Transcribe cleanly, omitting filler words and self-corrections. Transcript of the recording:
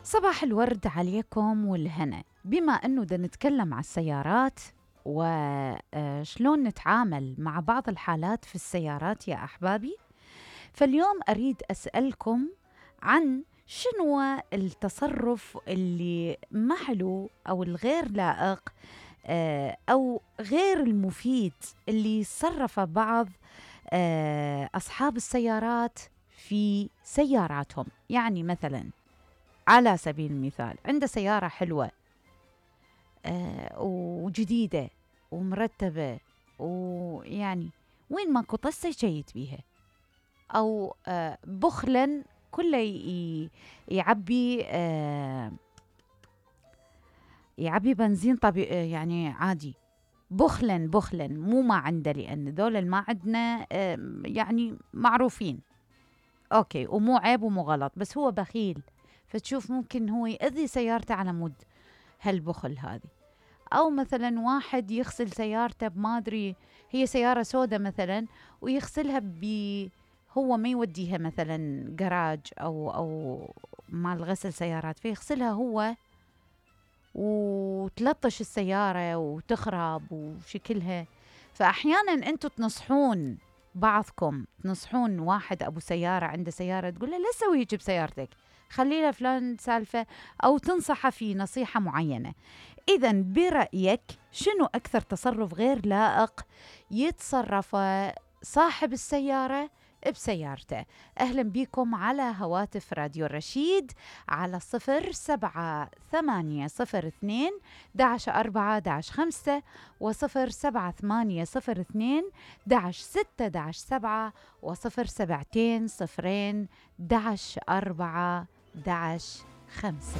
صباح الورد عليكم والهنا. بما أنه دا نتكلم على السيارات وشلون نتعامل مع بعض الحالات في السيارات يا أحبابي، فاليوم أريد أسألكم عن شنو التصرف اللي ما حلو أو الغير لائق أو غير المفيد اللي صرف بعض أصحاب السيارات في سياراتهم. يعني مثلاً على سبيل المثال عنده سيارة حلوة وجديدة ومرتبة، ويعني وين ماكو طسة يشيت بيها، أو بخلاً كله يعبي بنزين طبيعي، يعني عادي بخلاً مو ما عنده، لأن ذول ما عندنا يعني معروفين أوكي، ومو عيب ومو غلط، بس هو بخيل، فتشوف ممكن هو يأذي سيارته على مود هالبخل هذه. أو مثلا واحد يغسل سيارته بما أدري، هي سيارة سودة مثلا ويغسلها هو ما يوديها مثلا جراج أو مال غسل سيارات، فيغسلها هو وتلطش السيارة وتخرب وشكلها. فأحيانا أنتوا تنصحون بعضكم، تنصحون واحد أبو سيارة عنده سيارة، تقول له لا تسوي هيك بسيارتك، خلي له فلان سالفة، أو تنصحه في نصيحة معينة. إذن برأيك شنو أكثر تصرف غير لائق يتصرف صاحب السيارة بسيارته؟ أهلا بكم على هواتف راديو الرشيد على 078002-11-4-5 و078002-6-7 و0720-11-4-5.